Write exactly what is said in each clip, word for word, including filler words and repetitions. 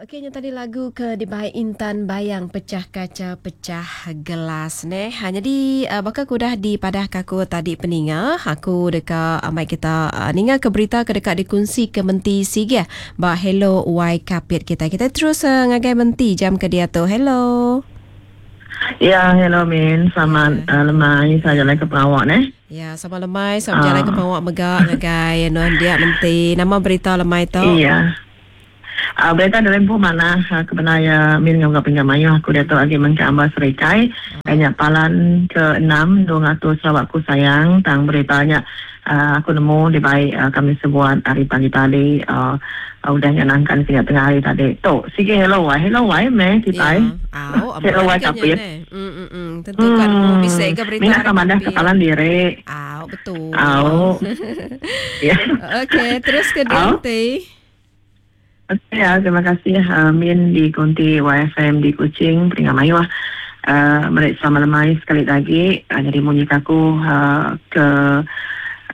Okey, nya tadi lagu ke dibai Intan Bayang, Pecah Kaca Pecah Gelas neh. Ha, jadi uh, baka ku udah dipadah ke aku tadi peninga, aku deka amai kita uh, ninga ke berita ke deka dikunsi ke Menti Sigeh ba Hello Y Kapit kita. Kita terus uh, ngagai Menti jam ke dia tu. Hello. Ya, hello Min. Selamat yeah. uh, lemai. Saya jalan ke Perawak neh. Ya, sama lemai, sama uh. jalan ke Perawak mega ngagai nuan dia Menti. Nama berita lemai tu? Iya. Uh, berita dalam pun mana uh, kebenaran Min ngau pinjam mayuh aku dia tu lagi mengke ambas serikai hanya palan ke enam dua ratus Sarawakku sayang tang beritanya uh, aku nemu di baik uh, kami sebuat hari pagi tadi uh, uh, udah nyenangkan kena tengah hari tadi tu sige hello wai hello wai me kita yeah. Hello wai kapit mm mm mm tentu kan hmm. Bisa ke berita minat sama dah kepalan diri au betul au ya. Okey, terus ke nanti. Okey, ya, terima kasih uh, Min di Kunti Y F M di Kuching, Peringkat Mayuh. Uh, mereka sama lemai sekali lagi. Uh, jadi munyi aku uh, ke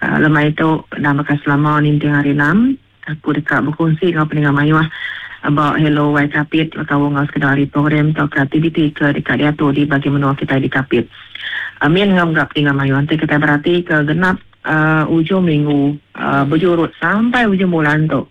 uh, lemai itu nama selama ninting hari enam. Aku dekat berkongsi dengan Peringkat Mayuh about Hello Y Kapit, atau ngau sekedar hari program atau aktiviti ke dekat dia tu di bagi menua kita di Kapit. Uh, Min ngau gap Peringkat Mayuh. Nanti kita berarti ke genap uh, ujung minggu uh, berjurut sampai ujung bulan tu.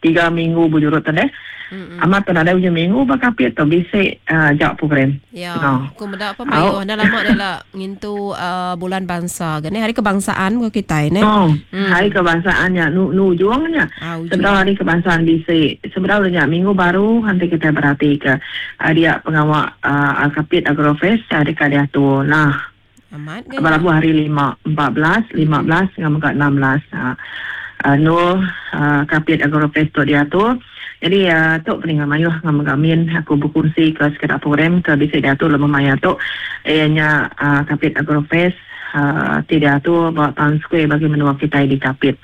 Tiga minggu berjurut tadi. Mm-hmm. Amat tu ada ujung minggu bakapit tu bisik uh, jawab program. Ya. No. Aku mendak apa mayu dah lama dah lah ngintu uh, bulan bangsa. Gini hari kebangsaan ko kita ni. Oh, mm. Hari kebangsaan ya nu nu ujungnya. Ah, ujung. Hari kebangsaan bisik. Sebenarnya minggu baru nanti kita berarti ke uh, dia pengawal uh, Kapit Agrofest uh, dekat dia tu. Nah. Amat kan. Balabu hari lima, empat belas, lima belas dengan enam belas. Uh, Uh, no uh, Kapit Agrofest tu dia tu. Jadi uh, tu peningan mayuh dengan mengamin aku berkongsi ke sekedar program ke bisa dia tu lebih maya tu. Ianya uh, Kapit Agrofest uh, tidak tu bawa town square bagi menua kita di Kapit.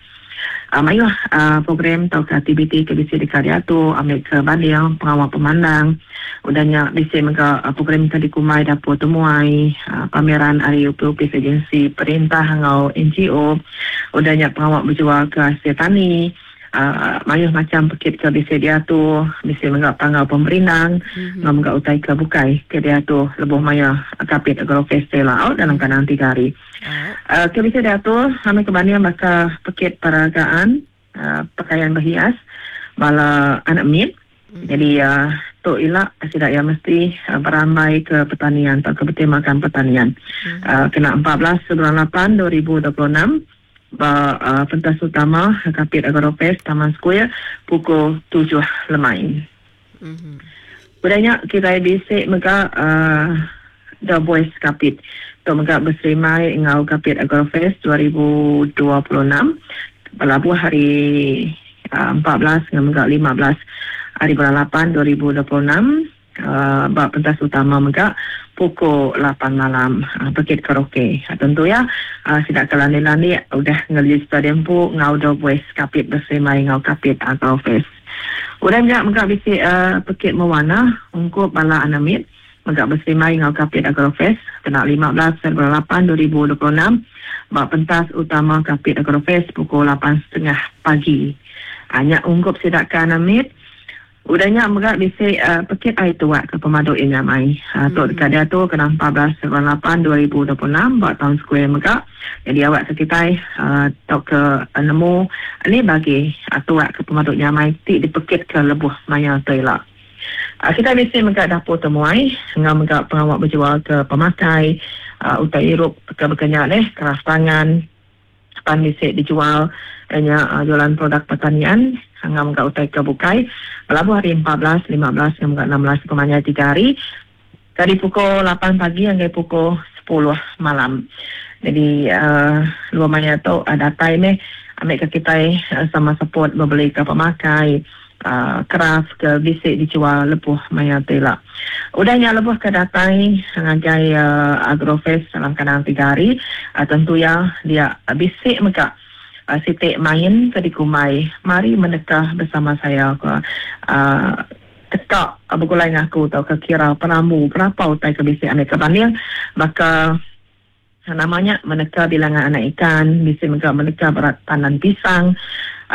Uh, mayuh uh, program atau aktiviti ke bisa dekat dia tu ambil ke banding pengawal pemandang. Udahnya bisa mega uh, program ke di Kumai dapur temuai uh, pameran hari U P U P agensi perintah ngau N G O. Udahnya pengawal berjual ke hasil tani. Uh, mayuh macam pekit ke bisa dia tu bisa mega pangau pemerintah mm-hmm. ngau mega utai ke bukai ke dia tu lebuh maya Kapit Agrofest lah out dalam kanan tiga hari. Uh, ke bisa dia tu kami kebanding maka pekit peragaan uh, pakaian berhias bala anak mit. Mm-hmm. Jadi uh, tu ilak tidak yang mesti uh, beramai ke pertanian atau ke bertemakan pertanian. Mm-hmm. Uh, kena empat belas bulan lapan dua ribu dua puluh enam ba, uh, pentas utama Kapit Agrofest Taman Square pukul tujuh lemai. Mm-hmm. Budaya kita bisik mega uh, The Voice Kapit. Tu mega berserimai ngau Kapit Agrofest dua ribu dua puluh enam berlabuh hari uh, empat belas dengan mega lima belas hari bulan lapan dua ribu dua puluh enam uh, bab pentas utama mega pukul lapan malam uh, pekit karaoke. Uh, tentu ya uh, sidak kelani-lani udah ngeregister dempu ngau The Voice Kapit berserimai ngau Kapit Agrofest. Udah mega mega bisi uh, pekit mewarna ungkup bala anamit mega berserimai ngau Kapit Agrofest kena lima belas bulan lapan dua ribu dua puluh enam bab pentas utama Kapit Agrofest pukul lapan tiga puluh pagi. Hanya ungkup sidak ke anamit. Udahnya mega bisi uh, pekit air tuak ke pemaduk yang nyamai. Uh, tok dekat dia tu kena empat belas bulan lapan dua ribu dua puluh enam buat town square mega. Jadi awak sekitar uh, tok ke uh, nemu ni bagi uh, tuak ke pemaduk nyamai ti dipekit ke lebuh maya toila. Uh, kita bisi mega dapur temuai ngau mega pengawak berjual ke pemakai uh, utai irup ke berkenyak leh keras tangan pan bisi dijual hanya uh, jualan produk pertanian ngau mega utai ke bukai. Berlabuh hari empat belas, lima belas, enam belas kemanya tiga hari. Dari pukul lapan pagi hingga pukul sepuluh malam. Jadi uh, luar tu ada time eh ambil ke kita uh, sama support berbeli ke pemakai uh, craft ke bisik dijual lebuh maya tela. Udahnya lebuh ke datai ngagai uh, Agrofest dalam kadang tiga hari. Uh, tentu ya dia bisik mega Uh, sitik main ke di Kumai. Mari menekah bersama saya ke uh, tekak uh, bergulai dengan aku atau ke kira peramu berapa utai ke bisik ambil ke banding maka Namanya meneka bilangan anak ikan, bisa mega meneka berat pandan pisang,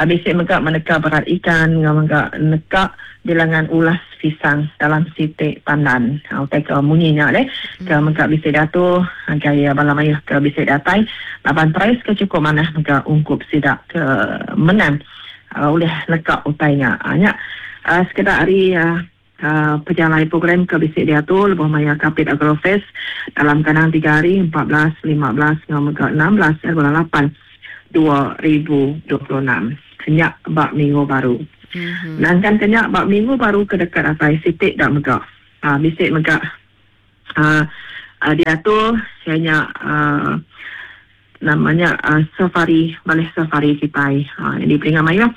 bisa mega meneka berat ikan, mega neka bilangan ulas pisang dalam sitik pandan. Utai ke munyinya deh, ke mega bisa datu gaya bala mayuh ke bisa datai laban price ke cukup manah mega ungkup sidak ke menang oleh neka utainya. Nya sekedar hari Uh, pejalai program ke bisik diatur lebuh maya Kapit Agrofest dalam kandang tiga hari empat belas, lima belas, enam belas, bulan lapan dua ribu dua puluh enam. Kenyak bak minggu baru. Mm-hmm. Nangkan kenyak bak minggu baru ke dekat atai sitik dak megak. Uh, bisik megak uh, uh, diatur hanya uh, namanya uh, safari, balai safari kita. Ha, jadi peringkat maya,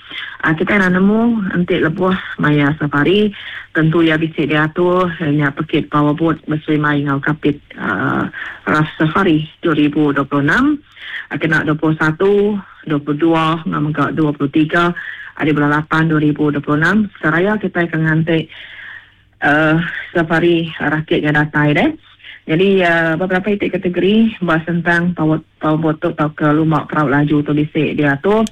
uh, kita nak nemu entik lebuh maya safari, tentu ya bisik diatur hanya pekit powerboat bersui mai ngau Kapit uh, Raft Safari dua ribu dua puluh enam. Uh, kena dua puluh satu, dua puluh dua, ngau megak dua puluh tiga hari bulan lapan dua ribu dua puluh enam. Seraya kita akan ngantik uh, safari rakitnya datai deh. Jadi uh, beberapa itik kategori bahas tentang power, powerboat tu atau ke lumak perahu laju tu bisik dia tu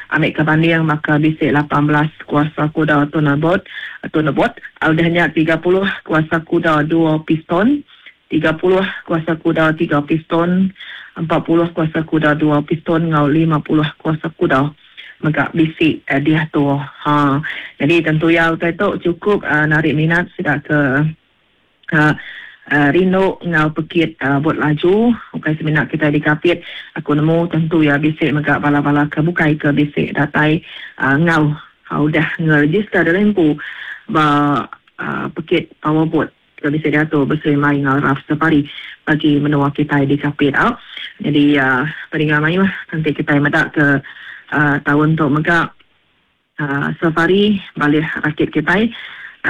ambil ke banding maka bisik lapan belas kuasa kuda tunabot tunabot udahnya tiga puluh kuasa kuda dua piston, tiga puluh kuasa kuda tiga piston, empat puluh kuasa kuda dua piston ngau lima puluh kuasa kuda maka bisik uh, dia tu. Ha, jadi tentu ya utai tu cukup uh, narik minat sudah ke uh, Uh, rindu ngau pekit uh, buat laju bukan seminat kita di Kapit aku nemu tentu ya bisik megak bala-bala ke bukai ke bisik datai uh, ngau uh, udah ngeregister dalam lempu ba uh, pekit powerboat ke bisik diatur bersama ngau Raft Safari bagi menua kita di Kapit uh. Jadi uh, peringkat mayu nanti kita medak ke uh, tahun tu megak uh, safari balik rakit kita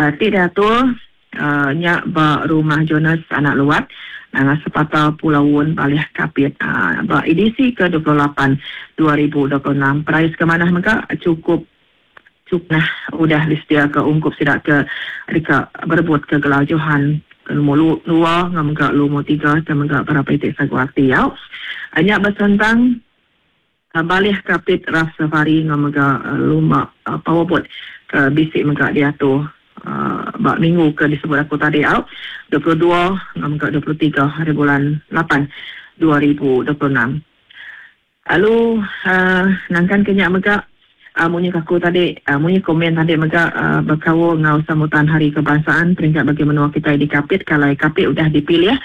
uh, tidak diatur Uh, nyak ba rumah Jonas anak luat dengan sepatah Pulau Wun Balih Kapit uh, ba edisi ke dua puluh lapan dua ribu dua puluh enam. Price ke mana maka cukup cukup nah udah disedia ke ungkup sidak ke dekat berebut ke gelar Johan ke nombor dua ngam ke nombor tiga dan mega berapa titik saguati ya. Nyak bersentang uh, Balih Kapit Raft Safari ngam mega uh, lumba uh, powerboat ke bisik mega diatur Uh, bak minggu ke disebut aku tadi out dua puluh dua hingga dua puluh tiga hari bulan lapan dua ribu dua puluh enam. Lalu uh, nangkan kenyak megak uh, munyi aku tadi uh, munyi komen tadi megak uh, berkawal ngau sambutan hari kebangsaan peringkat bagi menua kita di Kapit kalau Kapit udah dipilih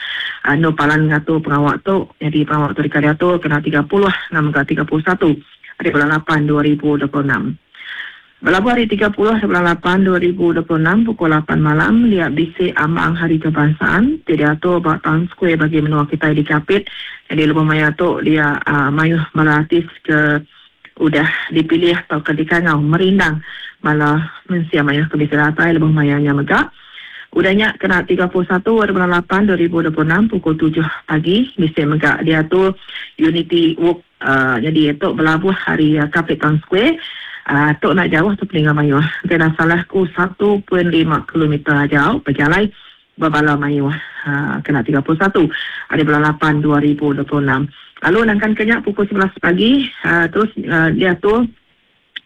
uh, no palan ngatur pengawak tu jadi pengawak tu dikadiatur kena tiga puluh hingga tiga puluh satu hari bulan lapan dua ribu dua puluh enam. Berlabuh hari tiga puluh bulan lapan dua ribu dua puluh enam pukul lapan malam lihat bisik ambang hari kebangsaan diatur bak Town Square bagi menua kita di Kapit. Jadi lebuh maya tu dia uh, mayuh melatis ke udah dipilih atau ke dikangau merindang malah mensia mayuh ke bisa datai lebuh mayanya megak. Udahnya kena tiga puluh satu bulan lapan dua ribu dua puluh enam pukul tujuh pagi bisik megak diatur Unity Walk uh, jadi itu berlabuh hari uh, Kapit Town Square. Uh, tok nak jauh tu peningan mayuh. Kena salahku satu perpuluhan lima kilometer jauh berjalan berbala mayuh. Uh, kena tiga puluh satu hari bulan lapan dua ribu dua puluh enam. Lalu nangkan kenyak pukul sebelas pagi uh, terus uh, dia tu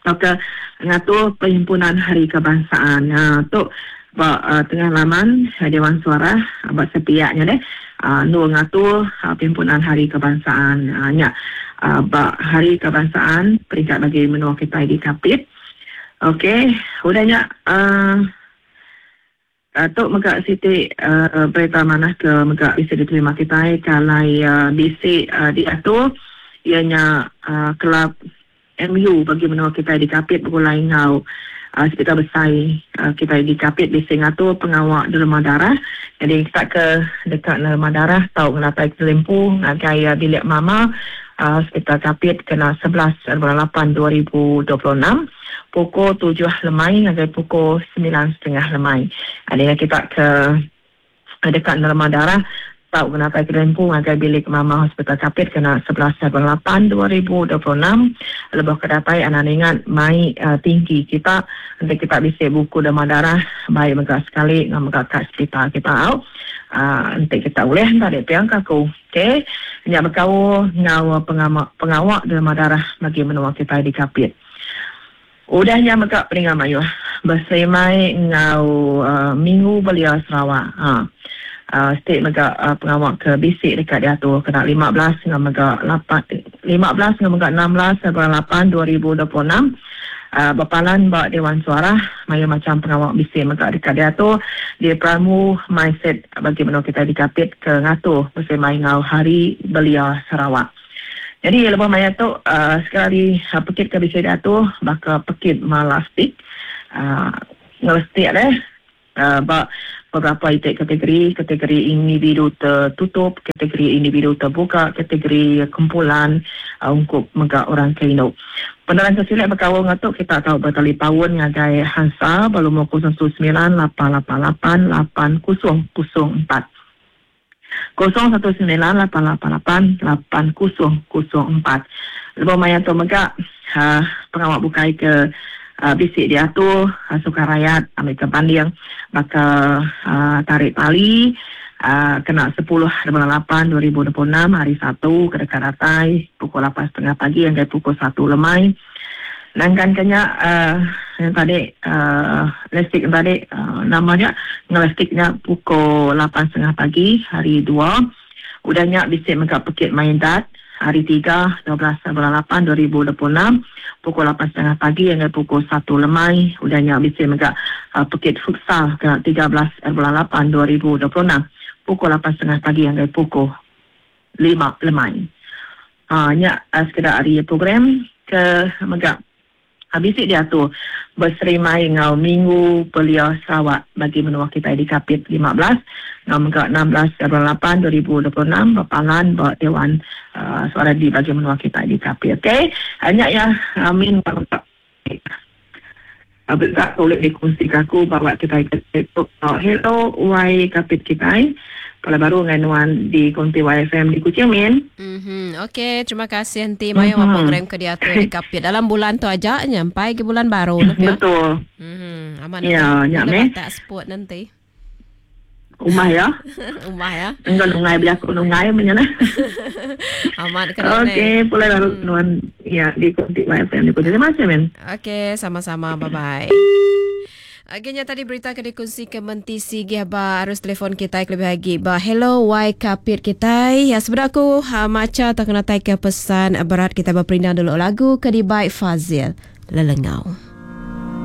maka ngatur perhimpunan hari kebangsaan. Uh, tok ba uh, tengah laman Dewan Suara uh, sepiaknya deh. Uh, nur ngatur uh, perhimpunan hari kebangsaan. Uh, nyak Uh, bak hari kebangsaan peringkat bagi menua kita di Kapit. Okey, udahnya uh, uh, tok megak siti uh, berita mana ke megak bisa diterima kita kalau uh, bisik uh, diatur ianya uh, kelab M U bagi menua kita di Kapit bergulai ngau uh, sekitar besar uh, kita di Kapit bisik ngatur pengawak derma darah. Jadi kita ke dekat derma darah tau ngelapai kelimpu ngagai uh, bilik mama Hospital Kapit kena sebelas bulan lapan dua ribu dua puluh enam pukul tujuh lemai hingga pukul sembilan setengah lemai. Ada yang kita ke dekat nerma darah Tau kena tai kerempu ngagai bilik Mama Hospital Kapit kena sebelas lapan dua ribu dua puluh enam. Lebuh kedatai anak ingat mai uh, tinggi kita nanti kita bisa buku demam darah baik mega sekali ngam mega kat sekitar kita au. Uh, nanti kita boleh tadi piang kaku. Okey, nya bekau ngau pengama pengawak demam darah bagi menua kita di Kapit. Udahnya mega peningat mayuh bersemai ngau uh, Minggu Belia Sarawak. Ha. Uh, state mega uh, pengawak ke bisik dekat diatur kena lima belas dengan mega lapan, lima belas dengan mega enam belas bulan lapan dua ribu dua puluh enam. Uh, berpalan bak Dewan Suara maya macam pengawak bisik mega dekat diatur di pramu mindset bagi menua kita di Kapit ke ngatur bersama ngau Hari Belia Sarawak. Jadi lepas maya tu uh, sekali uh, pekit ke bisik diatur baka pekit malastik uh, ngelestik deh uh, bak beberapa itik kategori, kategori individu tertutup, kategori individu terbuka, kategori kumpulan uh, untuk mega orang keinuk. Penerangan sesilat berkawal ngatuk kita tahu bertalipaun ngagai Hansa berlumur kosong sembilan lapan lapan lapan lapan kosong kosong empat. kosong satu sembilan lapan lapan lapan lapan kosong kosong empat. Lepas maya tu mega uh, pengawak bukai ke Uh, bisik diatur, uh, sukan rakyat, ambil ke banding, maka uh, tarik tali, uh, kena sepuluh bulan lapan dua ribu dua puluh enam, hari Sabtu, ke dekat ratai, pukul lapan setengah pagi hingga pukul satu lemai. Nangkan kenya, uh, yang tadi, uh, lestik yang tadi, uh, namanya, ngelestiknya pukul lapan setengah pagi, hari dua. Udahnya bisik mega pekit main dat, hari tiga, dua belas bulan lapan dua ribu dua puluh enam, pukul lapan setengah pagi hingga pukul satu lemai. Udahnya bisik mega uh, pekit futsal ke tiga belas bulan lapan dua ribu dua puluh enam, pukul lapan setengah pagi hingga pukul lima lemai. Ha, nya uh, sekedar hari program ke mega habis diatur berserimai ngau Minggu Belia Sarawak bagi menua kita di Kapit lima belas ngau mega enam belas bulan lapan dua ribu dua puluh enam berpalan buat Dewan uh, Suara di bagi menua kita di Kapit. Okey, hanya ya amin besar boleh dikongsi aku bawa kita ke Facebook. Oh, hello Y Kapit kita. Kalau baru dengan Nuan di Konti Y F M di Kuching Min. Mm-hmm. Okey, terima kasih nanti maya mm-hmm. program ke diatur di Kapit dalam bulan tu aja nyampai ke bulan baru nak ya. Betul. Mhm. Aman. Ya, nyak meh. Tak sport nanti. Umah ya. Umah ya. Enggak nungai beli aku nungai menyana. Aman kena. Okey, pulai baru hmm. Nuan ya di Konti Y F M di Kuching. Terima kasih Min. Okey, sama-sama. Bye bye. Akhirnya tadi berita ke dikongsi ke Menti Sigih ba arus telefon kita lebih lagi ba hello Y Kapit kita. Ya sebenarnya aku ha, maca tak kena tai ke pesan berat kita berperindang dulu lagu ke di baik Fazil Lelengau.